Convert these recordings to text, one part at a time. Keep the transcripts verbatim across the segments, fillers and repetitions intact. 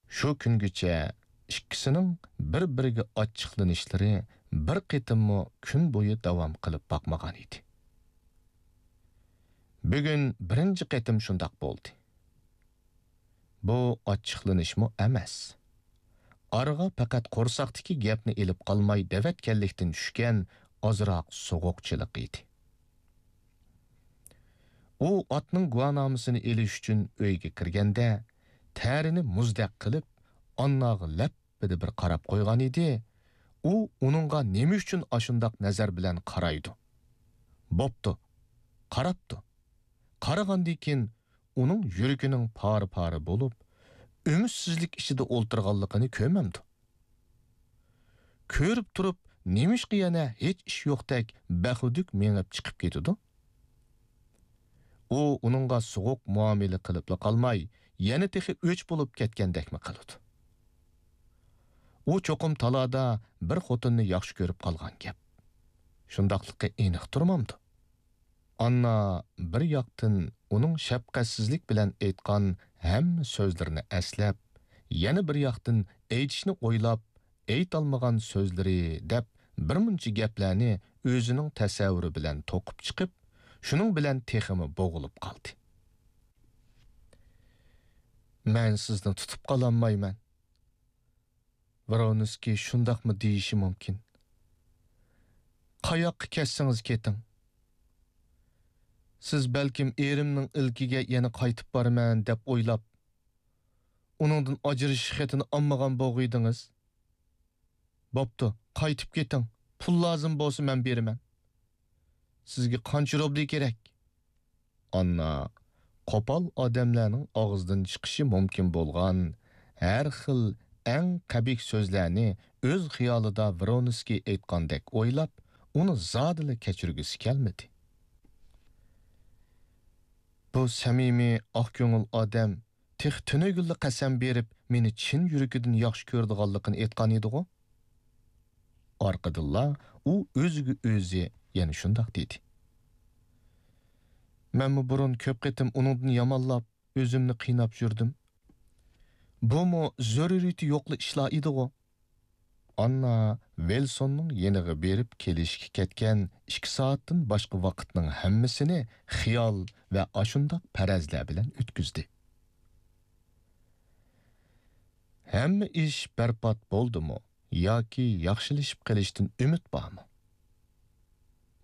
شۇ كۈنگىچە ئىككىسىنىڭ بىر-بىرىگە ئاچچىقلىنىشلىرى بىر قېتىممۇ كۈن بويى داۋام قىلىپ باقمىغان ئىدى. بۈگۈن بىرىنچى قېتىم شۇنداق بولدى. بۇ ئاچچىقلىنىشمۇ ئەمەس. ئارىغا پەقەت قورساقتىكى گەپنى ئېلىپ قالماي دەۋەتكەنلىكتىن چۈشكەن ئازراق سوغۇقچىلىق ئىدى. ئۇ ئاتنىڭ گۇۋاھنامىسىنى ئېلىش ئۈچۈن ئۆيگە كىرگەندە، تەرىنى مۇزدەك قىلىپ، ئانناغا لەپپىدە بىر قاراپ قويغان ئىدى. ئۇ ئۇنىڭغا نېمە ئۈچۈن ئاشۇنداق نەزەر بىلەن قارايدۇ؟ بوپتۇ، قاراپتۇ. قارىغاندىن كېيىن ئۇنىڭ يۈرىكىنىڭ پارە-پارە بولۇپ، ئۈمىدسىزلىك ئىچىدە ئولتۇرغانلىقىنى كۆرمەمدۇ؟ كۆرۈپ تۇرۇپ، نېمىشقا يەنە ھېچ ئىش يوقتەك بەخۇدۈك مېڭىپ چىقىپ كېتىدۇ؟ ئۇ ئۇنىڭغا سوغۇق مۇئامىلە قىلىپلا قالماي، يەنە تېخى ئۆچ بولۇپ كەتكەندەكمۇ قىلىدۇ. ئۇ چوقۇم تالادا بىر خوتۇننى ياخشى كۆرۈپ قالغان گەپ. شۇنداقلىقى ئېنىق تۇرمامدۇ؟ ئاننا بىر ياقتىن ئۇنىڭ شەپقەتسىزلىك بىلەن ئېيتقان ھەممە سۆزلىرىنى ئەسلەپ، يەنە بىر ياقتىن ئېيتىشنى ئويلاپ، ئېيتالمىغان سۆزلىرى دەپ بىر مۇنچە گەپلەرنى ئۆزىنىڭ تەسەۋۋۇرى بىلەن توقۇپ چىقىپ، شۇنىڭ بىلەن تېخىمۇ بوغۇلۇپ قالدى. مەن سىزنى تۇتۇپ قالالمايمەن. ۋرونسكىي شۇنداقمۇ دېيىشى مۇمكىن. قاياققا كەتسىڭىز كېتىڭ. سىز بەلكىم ئېرىمنىڭ ئىلكىگە يەنە قايتىپ بارىمەن دەپ ئويلاپ، ئۇنىڭدىن ئاجرىشىش خېتىنى ئالمىغان بوغۇيدىڭىز. بوپتۇ، قايتىپ كېتىڭ. پۇل لازىم بولسا مەن بېرىمەن. سىزگە قانچە روبلى كېرەك؟ ئاننا قوپال ئادەملەرنىڭ ئاغزىدىن چىقىشى مۇمكىن بولغان ھەر خىل ئەڭ قەبىھ سۆزلەرنى ئۆز خىيالىدا ۋرونسكىي ئېيتقاندەك ئويلاپ، ئۇنى زادىلا كەچۈرگۈسى كەلمىدى. بۇ سەمىمىي، ئاق كۆڭۈل ئادەم تېخى تۈنۈگۈنلا قەسەم بېرىپ، مېنى چىن يۈرىكىدىن ياخشى كۆرىدىغانلىقىنى ئېيتقان ئىدىغۇ؟ ئارقىدىنلا ئۇ ئۆزىگە ئۆزى يەنە شۇنداق دېدى. مەنمۇ بۇرۇن كۆپ قېتىم ئۇنىڭدىن يامانلاپ، ئۆزۈمنى قىيناپ يۈردۈم. بۇمۇ زۆرۈرىيىتى يوقلا ئىشلار ئىدىغۇ؟ ئاننا ۋىلسوننىڭ يېنىغا بېرىپ كېلىشكە كەتكەن ئىككى سائەتتىن باشقا ۋاقىتنىڭ ھەممىسىنى خىيال ۋە ئاشۇنداق پەرەزلەر بىلەن ئۆتكۈزدى. ھەممە ئىش بەربات بولدىمۇ ياكى ياخشىلىشىپ قېلىشتىن ئۈمىد بارمۇ؟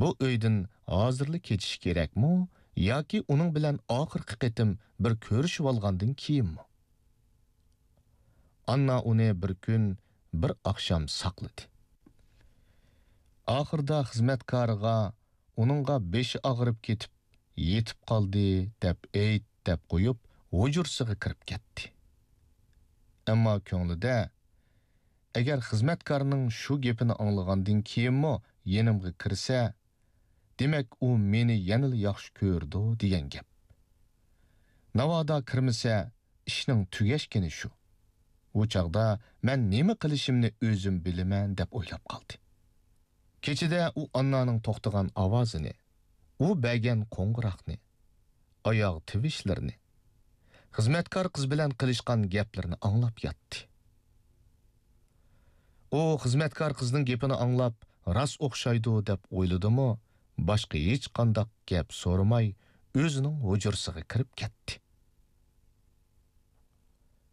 بۇ ئۆيدىن ھازىرلا كېتىش كېرەكمۇ ياكى ئۇنىڭ بىلەن ئاخىرقى قېتىم بىر كۆرۈشۈۋالغاندىن كېيىنمۇ؟ ئاننا ئۇنى بىر كۈن، بىر ئاخشام ساقلىدى. ئاخىرىدا خىزمەتكارىغا ئۇنىڭغا بېشى ئاغرىپ كېتىپ، يېتىپ قالدى دەپ ئېيت دەپ قويۇپ، ھۇجرىسىغا كىرىپ كەتتى. ئەمما كۆڭلىدە، ئەگەر خىزمەتكارنىڭ شۇ گېپىنى ئاڭلىغاندىن كېيىنمۇ يېنىمغا كىرسە، دېمەك، ئۇ مېنى يەنىلا ياخشى كۆرىدۇ دېگەن گەپ. ناۋادا كىرمىسە، ئىشنىڭ تۈگەشكىنى شۇ. ئۇ چاغدا مەن نېمە قىلىشىمنى ئۆزۈم بىلىمەن، دەپ ئويلاپ قالدى. كېچىدە ئۇ ئاننانىڭ توختىغان ئاۋازىنى، ئۇ بەرگەن قوڭغۇراقنى، ئاياغ تىۋىشلىرىنى، خىزمەتكار قىز بىلەن قىلىشقان گەپلىرىنى ئاڭلاپ ياتتى. ئۇ خىزمەتكار قىزنىڭ گېپىنى ئاڭلاپ، راست ئوخشايدۇ دەپ ئويلىدىمۇ، باشقا ھېچقانداق گەپ سورىماي، ئۆزىنىڭ ھۇجرىسىغا كىرىپ كەتتى.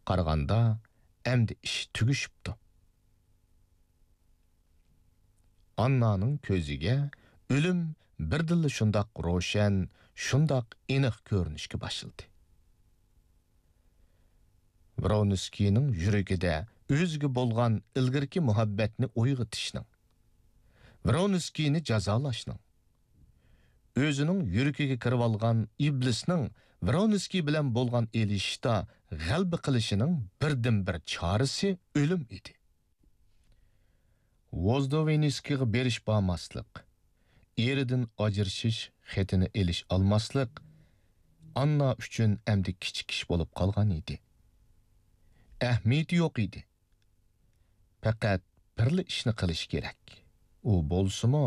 قارىغاندا، ئەمدى ئىش تۈگىشىپتۇ. ئاننانىڭ كۆزىگە ئۆلۈم بىردىنلا شۇنداق روشەن، شۇنداق ئېنىق كۆرۈنۈشكە باشلىدى. ۋرونسكىينىڭ يۈرىكىدە ئۆزىگە بولغان ئىلگىرىكى مۇھەببەتنى ئويغىتىشنىڭ، ۋرونسكىينى جازالاشنىڭ، ئۆزىنىڭ يۈرىكىگە كىرىۋالغان ئىبلىسنىڭ ۋرونسكىي بىلەن بولغان ئېلىشىشتا غەلىبە قىلىشىنىڭ بىردىنبىر چارىسى ئۆلۈم ئىدى. ۋوزدوۋېنسكىيغا بېرىش بارماسلىق، ئېرىدىن ئاجرىشىش خېتىنى ئېلىش ئالماسلىق ئاننا ئۈچۈن ئەمدى كىچىك ئىش بولۇپ قالغان ئىدى. ئەھمىيىتى يوق ئىدى. پەقەت بىرلا ئىشنى قىلىش كېرەك. ئۇ بولسىمۇ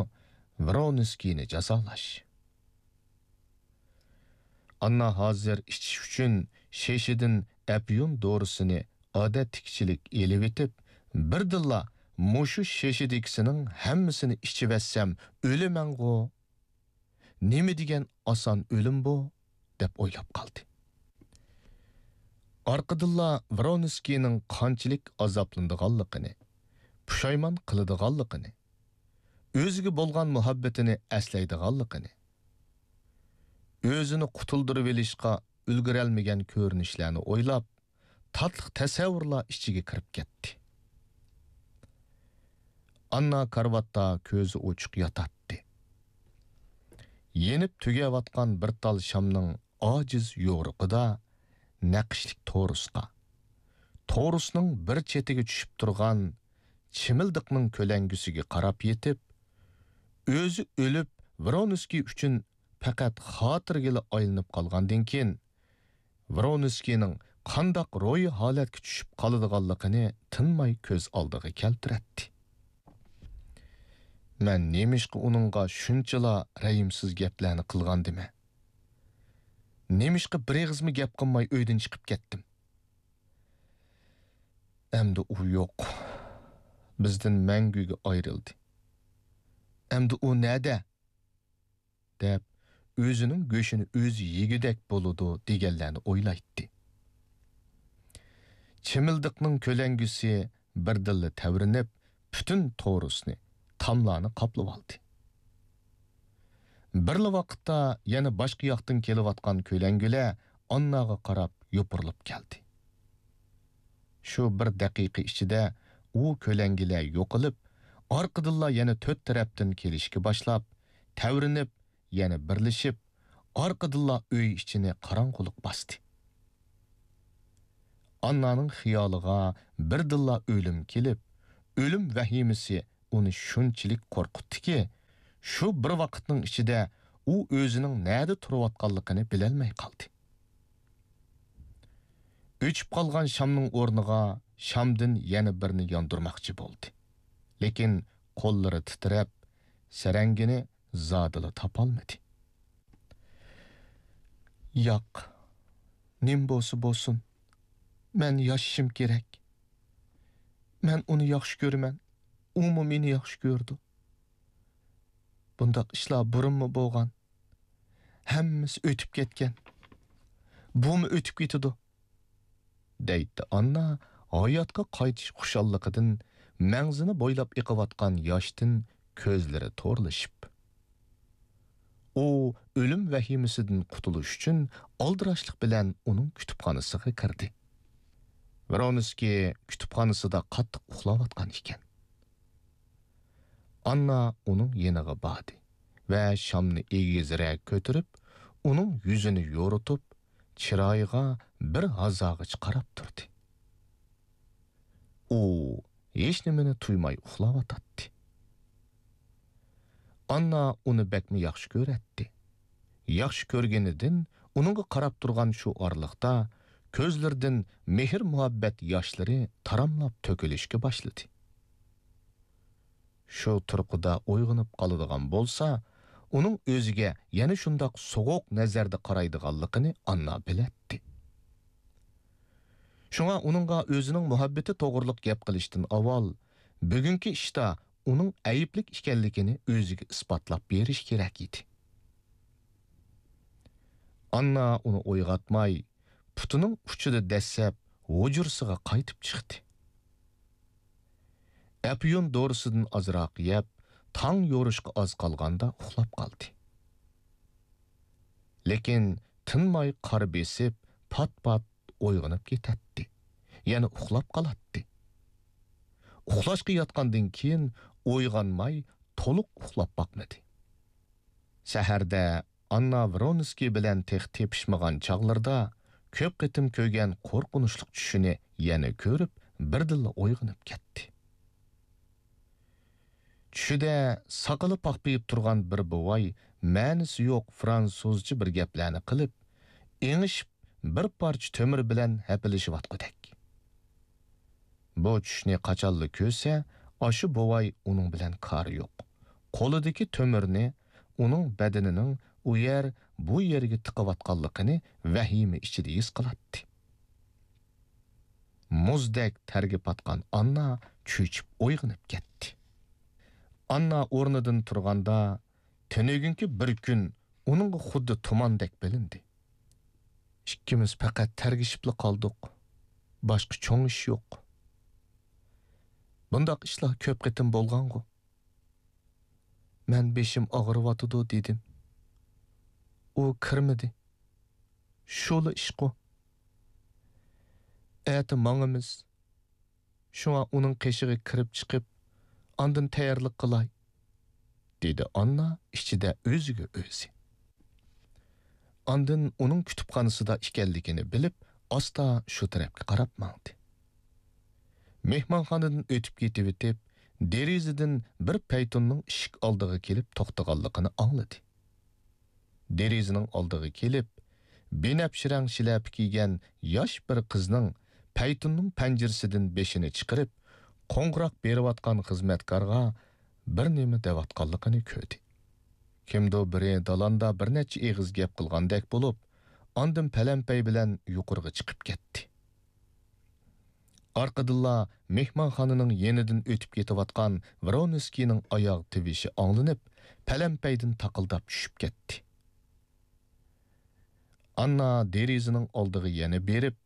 ۋرونسكىينى جازالاش. ئاننا ھازىر ئىچىش ئۈچۈن شېشىدىن ئەپيۈن دورىسىنى ئادەتتىكىچىلىك ئېلىۋېتىپ، بىردىنلا مۇشۇ شېشىدىكىسىنىڭ ھەممىسىنى ئىچىۋەتسەم ئۆلىمەنغۇ؟ نېمە دېگەن ئاسان ئۆلۈم بۇ؟ دەپ ئويلاپ قالدى. ئارقىدىنلا ۋرونسكىينىڭ قانچىلىك ئازابلىنىدىغانلىقىنى، پۇشايمان قىلىدىغانلىقىنى، ئۆزىگە بولغان مۇھەببىتىنى ئەسلەيدىغانلىقىنى، ئۆزىنى قۇتۇلدۇرۇۋېلىشقا ئۈلگۈرەلمىگەن كۆرۈنۈشلەرنى ئويلاپ، تاتلىق تەسەۋۋۇرلار ئىچىگە كىرىپ كەتتى. ئاننا كارىۋاتتا كۆزى ئوچۇق ياتاتتى. يېنىپ تۈگەۋاتقان بىر تال شامنىڭ ئاجىز يورۇقىدا نەقىشلىك تورۇسقا، تورۇسنىڭ بىر چېتىگە چۈشۈپ تۇرغان چىمىلدىقنىڭ كۆلەڭگىسىگە قاراپ يېتىپ، ئۆزى ئۆلۈپ، ۋرونسكىي ئۈچۈن پەقەت خاتىرىگىلا ئايلىنىپ قالغاندىن كېيىن، ۋرونسكىينىڭ قانداق روھىي ھالەتكە چۈشۈپ قالىدىغانلىقىنى تىنماي كۆز ئالدىغا كەلتۈرەتتى. مەن نېمىشقا ئۇنىڭغا شۇنچىلا رەھىمسىز گەپلەرنى قىلغاندىمەن؟ نېمىشقا بىر ئېغىزمۇ گەپ قىلماي ئۆيدىن چىقىپ كەتتىم؟ ئەمدى ئۇ يوق. بىزدىن مەڭگۈگە ئايرىلدى. ئەمدى ئۇ نەدە؟ دەپ، ئۆزىنىڭ گۆشىنى ئۆزى يېگۈدەك بولىدۇ دېگەنلەرنى ئويلايتتى. چىمىلدىقنىڭ كۆلەڭگىسى بىردىنلا تەۋرىنىپ، پۈتۈن تورۇسنى، تاملارنى قاپلىۋالدى. بىرلا ۋاقىتتا يەنە باشقا ياقتىن كېلىۋاتقان كۆلەڭگىلەر ئانناغا قاراپ يوپۇرۇلۇپ كەلدى. شۇ بىر دەقىقە ئىچىدە ئۇ كۆلەڭگىلەر يوقىلىپ، ئارقىدىنلا يەنە تۆت تەرەپتىن كېلىشكە باشلاپ، تەۋرىنىپ، يەنە بىرلىشىپ، ئارقىدىنلا ئۆي ئىچىنى قاراڭغۇلۇق باستى. ئاننانىڭ خىيالىغا بىردىنلا ئۆلۈم كېلىپ، ئۆلۈم ۋەھىمىسى ئۇنى شۇنچىلىك قورقۇتتىكى، شۇ بىر ۋاقىتنىڭ ئىچىدە ئۇ ئۆزىنىڭ نەدە تۇرۇۋاتقانلىقىنى بىلەلمەي قالدى. ئۆچۈپ قالغان شامنىڭ ئورنىغا شامدىن يەنە بىرنى ياندۇرماقچى بولدى. لېكىن قوللىرى تىترەپ، سەرەڭگىنى زادىلا تاپالمىدى. ياق، نېمە بولسا بولسۇن، مەن ياشىشىم كېرەك. مەن ئۇنى ياخشى كۆرىمەن، ئۇمۇ مېنى ياخشى كۆرىدۇ. بۇنداق ئىشلار بۇرۇنمۇ بولغان. ھەممىسى ئۆتۈپ كەتكەن. بۇمۇ ئۆتۈپ كېتىدۇ. دەيتتى ئاننا ھاياتقا قايتىش خۇشاللىقىدىن مەڭزىنى بويلاپ ئېقىۋاتقان ياشتىن كۆزلىرى تورلىشىپ. ئۇ ئۆلۈم ۋەھىمىسىدىن قۇتۇلۇش ئۈچۈن ئالدىراشلىق بىلەن ئۇنىڭ كۇتۇپخانىسىغا كىردى. ۋرونسكىي كۇتۇپخانىسىدا قاتتىق ئۇخلاۋاتقان ئىكەن. ئاننا ئۇنىڭ يېنىغا باردى ۋە شامنى ئېگىزرەك كۆتۈرۈپ، ئۇنىڭ يۈزىنى يورۇتۇپ، چىرايىغا بىر ھازاغىچە قاراپ تۇردى. ئۇ ھېچنېمىنى تۇيماي ئۇخلاۋاتاتتى. ئاننا ئۇنى بەكمۇ ياخشى كۆرەتتى. ياخشى كۆرگىنىدىن ئۇنىڭغا قاراپ تۇرغان شۇ ئارىلىقتا كۆزلىرىدىن مېھىر-مۇھەببەت ياشلىرى تاراملاپ تۆكۈلۈشكە باشلىدى. شۇ تۇرقىدا ئويغىنىپ قالىدىغان بولسا، ئۇنىڭ ئۆزىگە يەنە شۇنداق سوغۇق نەزەردە قارايدىغانلىقىنى ئاننا بىلەتتى. شۇڭا ئۇنىڭغا ئۆزىنىڭ مۇھەببىتى توغرىلىق گەپ قىلىشتىن ئاۋۋال، بۈگۈنكى ئىشتا ئۇنىڭ ئەيىبلىك ئىكەنلىكىنى ئۆزىگە ئىسپاتلاپ بېرىش كېرەك ئىدى. ئاننا ئۇنى ئويغاتماي، پۇتىنىڭ ئۇچىدا دەسسەپ، ھۇجرىسىغا قايتىپ چىقتى. ئەپيۈن دورىسىدىن ئازراق يەپ، تاڭ يورۇشقا ئاز قالغاندا ئۇخلاپ قالدى. لېكىن تىنماي قارا بېسىپ، پات-پات ئويغىنىپ كېتەتتى. يەنە ئۇخلاپ قالاتتى. ئۇخلاشقا ياتقاندىن كېيىن ئويغانماي، تولۇق ئۇخلاپ باقمىدى. سەھەردە ئاننا ۋرونسكىي بىلەن تېخى تېپىشمىغان چاغلىرىدا كۆپ قېتىم كۆرگەن قورقۇنچلۇق چۈشىنى يەنە كۆرۈپ، بىردىنلا ئويغىنىپ كەتتى. چۈشىدە ساقىلى پاخپىيىپ تۇرغان بىر بوۋاي مەنىسى يوق فرانسۇزچە بىر گەپلەرنى قىلىپ، ئېڭىشىپ، بىر پارچە تۆمۈر بىلەن ھەپىلىشىۋاتقۇدەك. بۇ چۈشنى قاچانلا كۆرسە، ئاشۇ بوۋاي ئۇنىڭ بىلەن كارى يوق. قولىدىكى تۆمۈرنى ئۇنىڭ بەدىنىنىڭ ئۇ يەر، بۇ يەرگە تىقىۋاتقانلىقىنى ۋەھىمە ئىچىدە ھېس قىلاتتى. مۇزدەك تەرگە پاتقان ئاننا چۆچۈپ ئويغىنىپ كەتتى. ئاننا ئورنىدىن تۇرغاندا، تۈنۈگۈنكى بىر كۈن ئۇنىڭغا خۇددى تۇماندەك بىلىندى. ئىككىمىز پەقەت تەرگىشىپلا قالدۇق. باشقا چوڭ ئىش يوق. بۇنداق ئىشلار كۆپ قېتىم بولغانغۇ. مەن بېشىم ئاغرىۋاتىدۇ دېدىم. ئۇ كىرمىدى. شۇلا ئىشقۇ. ئەتە ماڭىمىز. شۇڭا ئۇنىڭ قېشىغا كىرىپ چىقىپ، ئاندىن تەييارلىق قىلاي، دېدى ئاننا ئىچىدە ئۆزىگە ئۆزى. ئاندىن ئۇنىڭ كۇتۇپخانىسىدا ئىكەنلىكىنى بىلىپ، ئاستا شۇ تەرەپكە قاراپ ماڭدى. مېھمانخانىدىن ئۆتۈپ كېتىۋېتىپ، دېرىزىدىن بىر پەيتۇننىڭ ئىشىك ئالدىغا كېلىپ توختىغانلىقىنى ئاڭلىدى. دېرىزىنىڭ ئالدىغا كېلىپ، بىنەپشە رەڭ شىلەپە كىيگەن ياش بىر قىزنىڭ پەيتۇننىڭ پەنجىرىسىدىن بېشىنى چىقىرىپ، قوڭغۇراق بېرىۋاتقان خىزمەتكارغا بىر نېمە دەۋاتقانلىقىنى كۆردى. كىمدۇ بىرى دالاندا بىر نەچچە ئېغىز گەپ قىلغاندەك بولۇپ، ئاندىن پەلەمپەي بىلەن يۇقىرىغا چىقىپ كەتتى. ئارقىدىنلا مېھمانخانىنىڭ يېنىدىن ئۆتۈپ كېتىۋاتقان ۋرونسكىينىڭ ئاياغ تىۋىشى ئاڭلىنىپ، پەلەمپەيدىن تاقىلداپ چۈشۈپ كەتتى. ئاننا دېرىزىنىڭ ئالدىغا يەنە بېرىپ،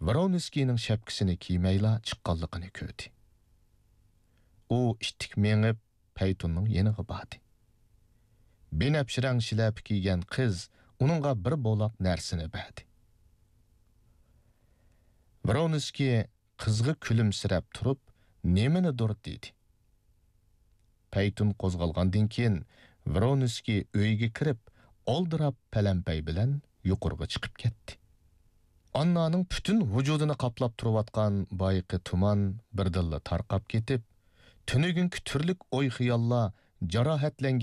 ۋرونسكىينىڭ شەپكىسىنى كىيمەيلا چىققانلىقىنى كۆردى. ئۇ ئىتتىك مېڭىپ، پەيتۇننىڭ يېنىغا باردى. بىنەپشە رەڭ شىلەپە كىيگەن قىز ئۇنىڭغا بىر بولاق نەرسىنى بەردى. ۋرونسكىي قىزغا كۈلۈمسىرەپ تۇرۇپ، نېمىنىدۇر دېدى. پەيتۇن قوزغالغاندىن كېيىن، ۋرونسكىي ئۆيگە كىرىپ، ئالدىراپ پەلەمپەي بىلەن يۇقىرىغا چىقىپ كەتتى. ئاننانىڭ پۈتۈن ۋۇجۇدىنى قاپلاپ تۇرۇۋاتقان بايىقى تۇمان بىردىنلا تارقاپ كېتىپ، تۈنۈگۈنكى تۈرلۈك ئوي-خىياللار، جاراھەتلەنگەن